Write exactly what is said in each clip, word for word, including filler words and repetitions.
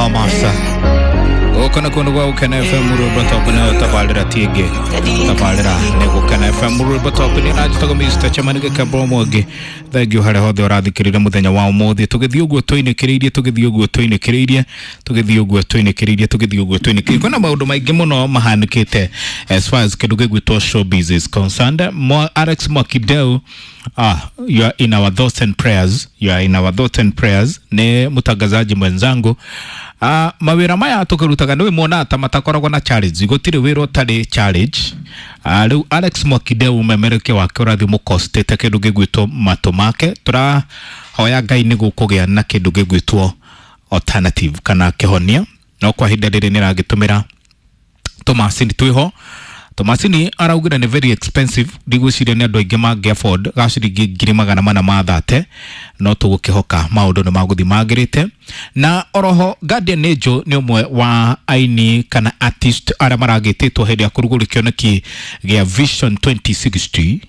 Thomas. Gũkũ nĩ kũndũ gwa Gũkena F M rwĩmbo top nĩyo tabarĩra ti ĩngĩ tabarĩra nĩ Gũkena F M rwĩmbo top nĩ na njĩtagwo Mister Chairman Gĩkembo Mwangi. Thengiũ harĩa hothe ũrathikĩrĩria mũthenya wa ũmũthĩ, tũgĩthiĩ ũguo tũinĩkĩrĩirie tũgĩthiĩ ũguo tũinĩkĩrĩirie tũgĩthiĩ ũguo tũinĩkĩrĩirie tũgĩthiĩ ũguo tũinĩkĩrĩirie. Kwĩna maũndũ maingĩ mũno mahanĩkĩte as far as kĩndũ gĩgwĩtwo showbiz is concerned. Mwa Alex Mwakideu, ah, you are in our thoughts and prayers, you are in our thoughts and prayers. Nĩ mũtangazaji mwenzangu. Ah, mawĩra maya tũkĩrutaga nĩ mwona ta matakoragwo na challenge, gũtirĩ wĩra ũtarĩ challenge. Ah, rĩu Alex Mwakideu memerekia wake ũrathiĩ mũkostĩte kĩndũ gĩgwĩtwo matũ make. Tũrahoya Ngai nĩguo kũgĩa na kĩndũ gĩgwĩtwo alternative kana kĩhonia, no kwa ihinda rĩrĩ nĩragĩtũmĩra tũmacini twĩho. Tũmacini araugire nĩ very expensive, ndigwĩciria nĩ andũ aingĩ mangĩ afford ga ciringi ngiri magana mana ma thate, no tũgũkĩhoka maũndũ nĩ magũthiĩ magĩrĩte. Na oroho Guardian Angel nĩ ũmwe wa aini kana artist arĩa maragĩtĩtwo hĩndĩ ya kũrugũria kĩoneki gĩa Vision twenty sixty,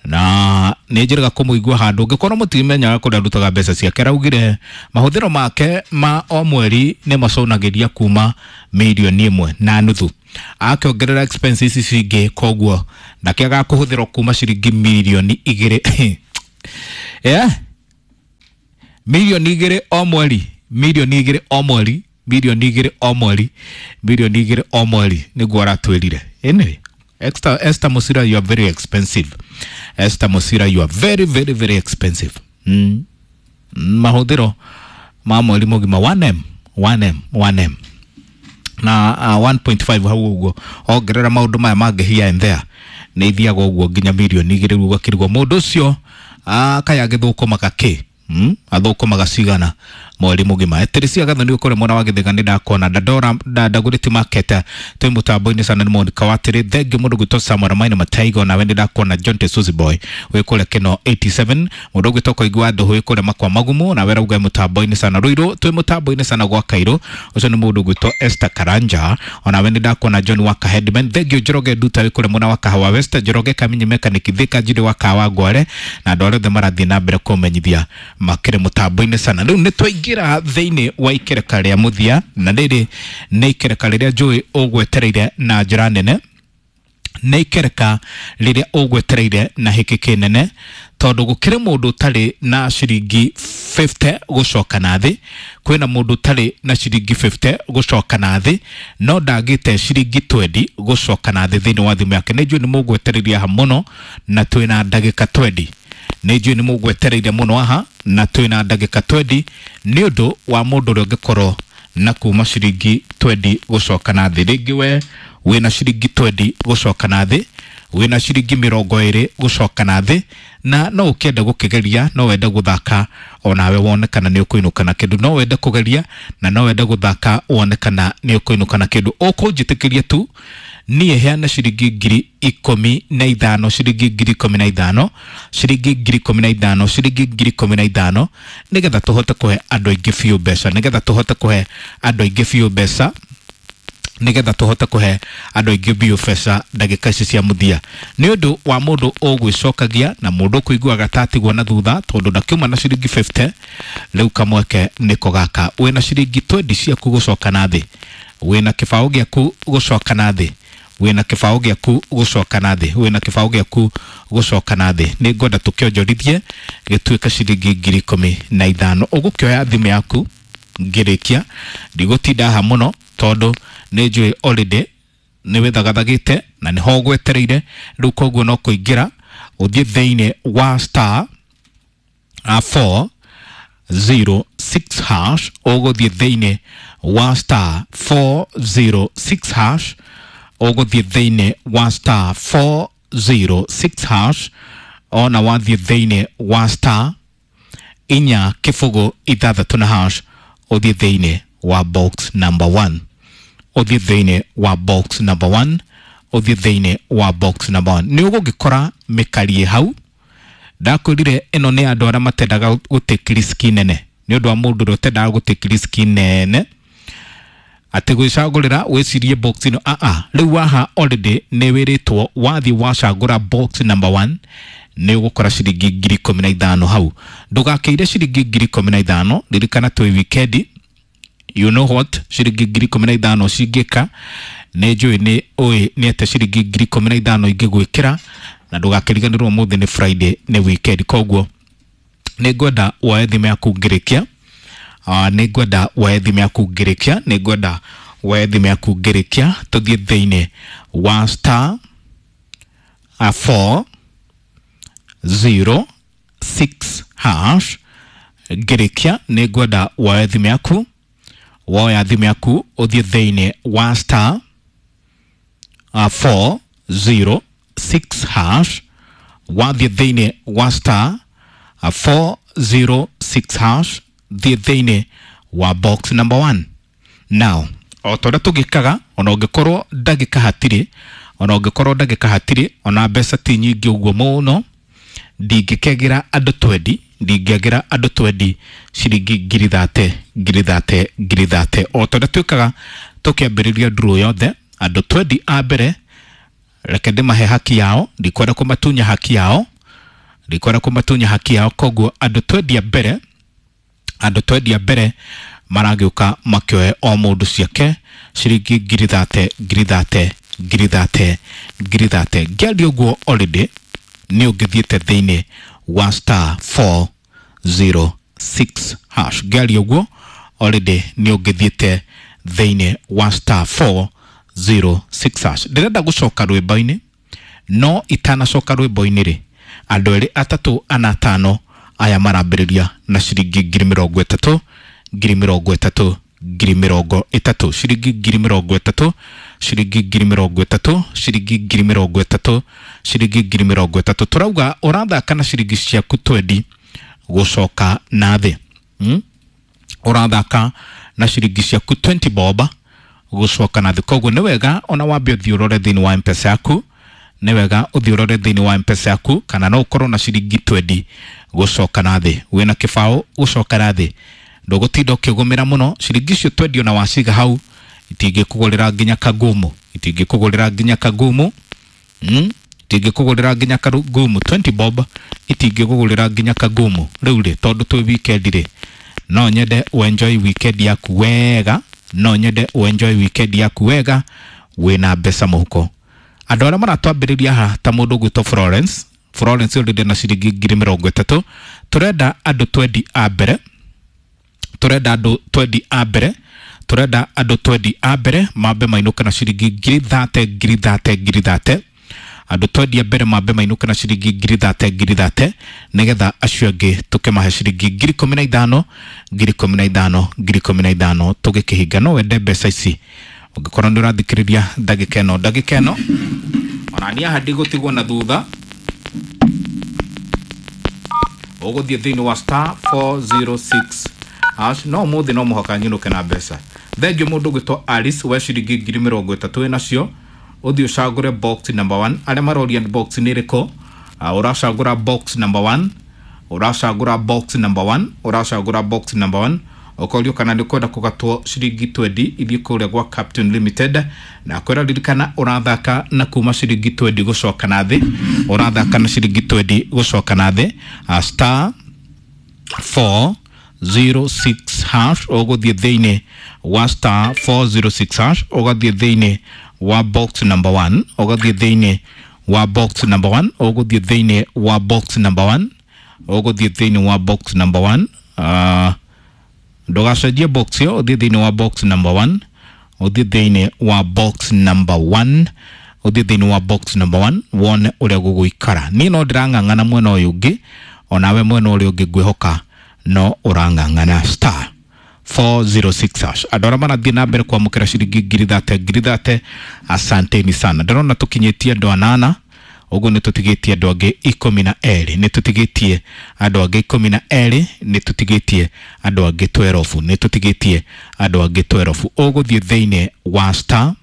na nĩ njĩrĩga kũmũigua handũ ũngĩkorwo mũtimenyaga kũrĩa arutaga mbeca ciake. Araugire mahũthĩro make ma o mweri nĩ maconagĩria kuma mirioni ĩmwe na nuthu, akĩongerera expenses ici ingĩ, koguo ndakĩagaga kũhũthĩrwo kuma ciringi mirioni igĩrĩ. Yeah? Mirioni igĩrĩ o mweri, mirioni igĩrĩ o mweri, mirioni igĩrĩ o mweri, mirioni igĩrĩ o mweri nĩguo aratwĩrire. Anyway, Esther, Esther Musira, you are very expensive. Esther Musira, you are very, very, very expensive. Mm. Mahũthĩro ma mweri mũgima one M, one M, one M. Na uh, one point five hau ũguo ongerera maũndũ maya mangĩ here and there nĩ ithiaga ũguo nginya mirioni igĩrĩ rĩu ũgakĩrigwo mũndũ ũcio kaya agĩthũkũmaga kĩ? Mm? Athũkũmaga cigana mweri mũgima. Eterisia Gathoni ũkũrĩa mwena wa Gĩthĩga nĩ ndakona Dandora Ndagũrĩti Market twĩ mũtambo-inĩ sana nĩ Monica Watĩrĩ. Thengiũ mũndũ gwĩtwo Samuel Maina Mataigo, nawe nĩ ndakona John Tesuzi Boy wĩ kũrĩa Kĩno eighty seven, mũndũ ũgwĩtwo Koigi wa Ndũhũ wĩ kũrĩa Makwa Magumu, nawe rauga mũtambo-inĩ sana Ruiru twĩ mũtambo-inĩ sana gwa Kairũ, ũcio nĩ mũndũ ũgwĩtwo Esther Karanja, onawe nĩ ndakona John Waka Headman. Thengiũ Njoroge Nduta wĩ kũrĩa mwena wa Kahawa West, Njoroge Kaminyi Mechanic Thika Njiri wa Kahawa Ngware, na andũ arĩa othe marathiĩ na mbere kũmenyithia makĩrĩ mũtambo-inĩ sana. Rĩu nĩ twaingĩra thĩinĩ wa ikereka rĩa mũthia, na rĩrĩ nĩ ikereka rĩrĩa njũĩ ũgwetereire na njĩra nene, nĩ ikereka rĩrĩa ũgwetereire na hĩkĩ kĩnene, tondũ gũkĩrĩ mũndũ ũtarĩ na ciringi fifty gũcoka na thĩ, kwĩna mũndũ ũtarĩ na ciringi fifty gũcoka na thĩ, no ndagĩte ciringi twenty gũcoka na thĩ thĩinĩ wa thimũ yake. Nĩ njũĩ nĩ mũgwetereire haha mũno na twĩna ndagĩka twenty. Nĩ njũĩ nĩ mũgwetereire mũno haha na twĩna ndagĩka twenty nĩ ũndũ wa mũndũ ũrĩa ũngĩkorwo na kuma ciringi twenty gũcoka na thĩ. Rĩngĩ we wĩna ciringi twenty gũcoka na thĩ, wĩna ciringi mĩrongo ĩrĩ gũcoka na thĩ, na no ũkĩende gũkĩgeria, no wende gũthaka onawe wone kana nĩ ũkũinũka na kĩndũ, no wende kũgeria na no wende gũthaka wone kana nĩ ũkũinũka na kĩndũ. Ũkũnjĩtĩkĩria tu niĩ heane ciringi ngiri ikũmi na ithano, ciringi ngiri ikũmi na ithano, ciringi ngiri ikũmi na ithano, ciringi ngiri ikũmi na ithano, nĩgetha tũhote kũhe andũ aingĩ biũ mbeca, nĩgetha tũhote kũhe andũ aingĩ biũ mbeca, nĩgetha tũhote kũhe andũ aingĩ biũ mbeca ndagĩka ici cia mũthia. Nĩ ũndũ wa mũndũ ũgwĩcokagia na mũndũ ũkũiguaga ta atigwo na thutha, tondũ ndakiuma na ciringi fifty, rĩu kamweke nĩko gaka. Wĩna ciringi twenty ciaku gũcoka na thĩ, wĩna kĩbaũ gĩaku gũcoka na thĩ, wĩna kĩbaũ gĩaku gũcoka na thĩ, wĩna kĩbaũ gĩaku gũcoka na thĩ. Nĩ ngwenda tũkĩonjorithie gĩtuĩke ciringi ngiri ikũmi na ithano. Ũgũkĩoya thimũ yaku ngĩrĩkia, ndigũtinda haha mũno tondũ nĩ njũĩ already nĩ wĩthagathagĩte na nĩho ũgwetereire. Rĩu koguo no kũingĩra ũthiĩ thĩinĩ wa star four zero six hash, ũgũthiĩ thĩinĩ wa star four zero six hash, ũgũthiĩ thĩinĩ wa star four zero six hash, ona wathiĩ thĩinĩ wa star inya kĩbũgũ ithathatũ na hash, ũthiĩ thĩinĩ wa box number one, ũthiĩ thĩinĩ wa box number one, ũthiĩ thĩinĩ wa box number one. Nĩ ũgũgĩkora mĩkarie hau. Ndakwĩrire ĩno nĩ andũ arĩa matendaga gũtake risk nene, nĩ ũndũ wa mũndũ ũrĩa ũtendaga gũtake risk nene atĩ gwĩcagũrĩra wĩcirie box ĩno. A a rĩu waha already nĩ wĩrĩtwo wathiĩ wacagũra box number one nĩ ũgũkora ciringi ngiri ikũmi na ithano hau. Ndũgakĩire ciringi ngiri ikũmi na ithano, ririkana twĩ wikendi, You know what ciringi ngiri ikũmi na ithano cingĩka? Nĩ njũĩ nĩ ũĩ nĩ atĩa ciringi ngiri ikũmi na ithano ingĩgwĩkĩra, na ndũgakĩriganĩrwo ũmũthĩ nĩ Friday, nĩ weekend. Koguo nĩ ngwenda woe thimũ yaku ngĩrĩkia, uh, nĩ ngwenda woe thimũ yaku ngĩrĩkia, nĩ ngwenda woe thimũ yaku ngĩrĩkia, tũthiĩ thĩinĩ wa star uh, four zero six hash. Ngĩrĩkia nĩ ngwenda woe thimũ yaku, woya thimũ yaku ũthiĩ thĩinĩ wa star uh, four zero six hash. Wathiĩ thĩinĩ wa star uh, four zero six hash, thiĩ thĩinĩ wa box number one. Now o ta ũrĩa tũgĩkaga, ona ũngĩkorwo ndagĩka hatirĩ, ona ũngĩkorwo ndagĩka hatirĩ, ona mbeca ti nyingĩ ũguo mũno, ndingĩkegera andũ twendi, ndingĩagĩra andũ twendi ciringi ngiri thate, ngiri thate, ngiri thate, o ta ũrĩa twĩkaga tũkĩambĩrĩria nduru yothe. Andũ twendi a mbere reke ndĩmahe haki yao, ndikwenda kũmatunya haki yao, ndikwenda kũmatunya haki yao. Koguo andũ twendi a mbere, andũ twendi a mbere maragĩũka makĩoe o mũndũ ciake ciringi ngiri thate, ngiri thate, ngiri thate, ngiri thate. Ngĩaria ũguo already nĩ ũngĩthiĩte thĩinĩ wa star four zero six hash. Ngĩaria ũguo already nĩ ũngĩthiĩte thĩinĩ wa star four zero six hash. Ndĩrenda gũcoka rwĩmbo-inĩ, no itanacoka rwĩmbo-inĩ rĩ, andũ erĩ, atatũ, ana, atano aya marambĩrĩria na ciringi ngiri mĩrongo ĩtatũ, ngiri mĩrongo ĩtatũ, ngiri mĩrongo ĩtatũ, ciringi ngiri mĩrongo ĩtatũ, ciringi ngiri mĩrongo ĩtatũ, ciringi ngiri mĩrongo ĩtatũ, ciringi ngiri mĩrongo ĩtatũ. Tũrauga ũrathaka na ciringi ciaku twendi gũcoka na thĩ, hmm? Ũrathaka na ciringi ciaku twenty bob gũcoka na thĩ. Koguo nĩ wega ona wambe ũthiĩ ũrore thĩinĩ wa M-Pesa yaku, nĩ wega ũthiĩ ũrore thĩinĩ wa M-Pesa yaku kana no ũkorwo na ciringi twendi gũcoka na thĩ, wĩna kĩbaũ gũcoka na thĩ, ndũgũtinda ũkĩgũmĩra mũno. Ciringi icio twendi ona waciga hau itingĩkũgũrĩra nginya kagumu, itingĩkũgũrĩra nginya kagumu, mm? Itingĩkũgũrĩra nginya kagumu. Twenty bob itingĩkũgũrĩra nginya kagumu. Rĩu rĩ, tondũ twĩ weekend rĩ, no nyende ũenjoy weekend yaku wega, no nyende ũenjoy weekend yaku wega wĩna mbeca mũhuko. Andũ arĩa maratwambĩrĩria haha ta mũndũ ũgwĩtwo Florence, Florence already na ciringi ngiri mĩrongo ĩtatũ. Tũrenda andũ twendi a mbere, tũrenda andũ twendi a mbere, tũrenda andũ twendi a mbere mambe mainũke na ciringi ngiri thate, ngiri thate, ngiri thate. Andũ twendi a mbere mambe mainũke na ciringi ngiri thate, ngiri thate, nĩgetha acio angĩ tũkĩmahe ciringi ngiri ikũmi na ithano, ngiri ikũmi na ithano, ngiri ikũmi na ithano tũgĩkĩhinga. No wende mbeca ici ũngĩkorwo nĩ ũrathikĩrĩria ndagĩka ĩno, ndagĩka ĩno ona niĩ haha ndigũtigwo na thutha. Ũgũthiĩ thĩinĩ wa star four zero six hash. No ũmũthĩ no mũhaka nyinũke na mbeca. Thengiũ mũndũ ũgwĩtwo Alice, we ciringi ngiri mĩrongo ĩtatũ wĩnacio, ũthiĩ ũcagũre box number one. Arĩa maroria box nĩ ĩrĩkũ, uh, ũracagũra box number one, ũracagũra box number one, ũracagũra box number one. Ũkorio kana nĩ ũkwenda kũgatwo ciringi twendi ithiĩ kũrĩa gwa Captain Limited, na kwĩra ririkana ũrathaka na kuma ciringi twendi gũcoka na thĩ, ũrathaka na ciringi twendi gũcoka na thĩ, uh, star four zero six hash. Ũgũthiĩ thĩinĩ wa star four zero six hash, ũgathiĩ thĩinĩ wa box number one, ũgathiĩ thĩinĩ wa box number one, ũgũthiĩ thĩinĩ wa box number one, ũgũthiĩ thĩinĩ wa box number one. uh, ndũgacenjie box ĩyo, ũthiĩ thĩinĩ wa box number one, ũthiĩ thĩinĩ wa box number one, ũthiĩ thĩinĩ wa box number one wone ũrĩa gũgũikara. Niĩ no ndĩrang'ang'ana mwena ũyũ ũngĩ, onawe mwena ũrĩa ũngĩ ngwĩhoka no ũrang'ang'ana. Star four zero six hash. Andũ arĩa marathiĩ na mbere kwamũkĩra ciringi ngiri thate, ngiri thate, asanteni sana. Ndĩrona tũkinyĩtie andũ anana ũguo, nĩ tũtigĩtie andũ angĩ ikũmi na erĩ, nĩ tũtigĩtie andũ angĩ ikũmi na erĩ, nĩ tũtigĩtie andũ angĩ twelve, nĩ tũtigĩtie andũ angĩ twelve. Ũgũthiĩ thĩinĩ wa star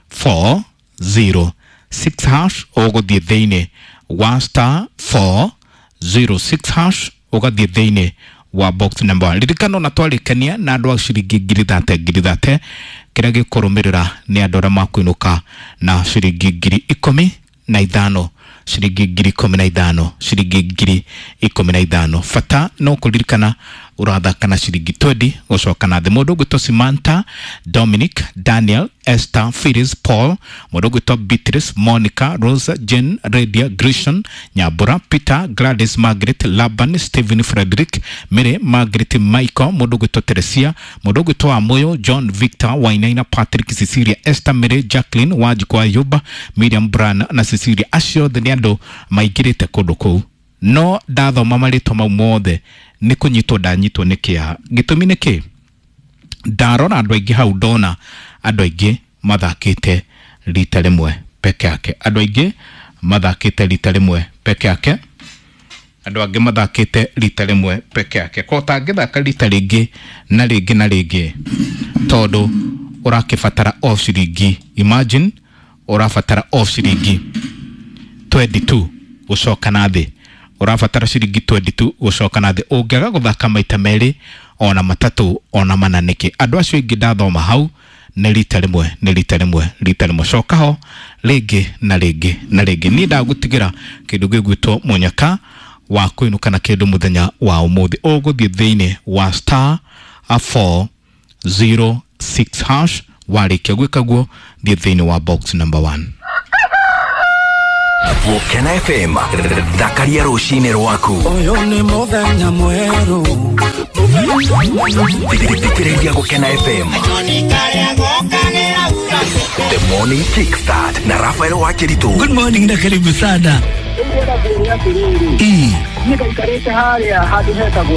four zero six hash, ũgũthiĩ thĩinĩ wa star four zero six hash, ũgathiĩ thĩinĩ wa box number one. Ririkana ona twarĩkania na andũ a ciringi ngiri thate, ngiri thate, kĩrĩa gĩkũrũmĩrĩra nĩ andũ arĩa makuinũka na ciringi ngiri ikũmi na ithano, ciringi ngiri ikũmi na ithano, ciringi ngiri ikũmi na ithano. Bata no kũririkana Ũrathaka na ciringi twenty gũcoka na thĩ. Mũndũ ũgwĩtwo Samantha, Dominic, Daniel, Esther, Phyllis, Paul, mũndũ ũgwĩtwo Beatrice, Monica, Rosa, Jane, Radia, Grishon, Nyambura, Peter, Gladys, Margaret, Laban, Stephen, Frederick, Mary, Margaret, Michael, mũndũ ũgwĩtwo Teresia, mũndũ ũgwĩtwo Amoyo, John, Victor, Wainaina, Patrick, Cecilia, Esther, Mary, Jacqueline, Wanjikũ Ayuba, Miriam Bran na Cecilia. Acio othe nĩ andũ maingĩrĩte kũndũ kũu, no ndathoma marĩtwa mau mothe nĩ kũnyitwo ndanyitwo nĩ kĩeha. Gĩtũmi nĩ kĩ? Ndarora andũ aingĩ hau, ndona andũ aingĩ mathakĩte rita rĩmwe peke yake, andũ aingĩ mathakĩte rita rĩmwe peke yake, andũ angĩ mathakĩte rita rĩmwe peke yake. Ko ũtangĩthaka rita rĩngĩ na rĩngĩ na rĩngĩ, tondũ ũrakĩbatara o ciringi, imagine, ũrabatara o ciringi twenty-two gũcoka na thĩ. Ũrabatara ciringi twenty-two gũcoka na thĩ. Ũngĩaga gũthaka maita merĩ, ona matatũ, ona mana nĩkĩ? Andũ acio aingĩ ndathoma hau nĩ rita rĩmwe, nĩ rita rĩmwe, rita rĩmwe. Coka ho rĩngĩ na rĩngĩ na rĩngĩ. Niĩ ndagũtigĩra kĩndũ gĩgwĩtwo mũnyaka wa kũinũka na kĩndũ mũthenya wa ũmũthĩ. Ũgũthiĩ thĩinĩ wa star four zero six hash. Warĩkia gwĩka guo, thiĩ thĩinĩ wa box number one. Gũkena F M, thakaria rũcinĩ rwaku. Ũyũ nĩ mũthenya mwerũ. Thikĩrĩria Gũkena F M, The Morning Kickstart na Rafael Wakiritu. Good morning na karibu sana. Ĩ Ii. Niĩ ngaikarĩte harĩa handũ hetagwo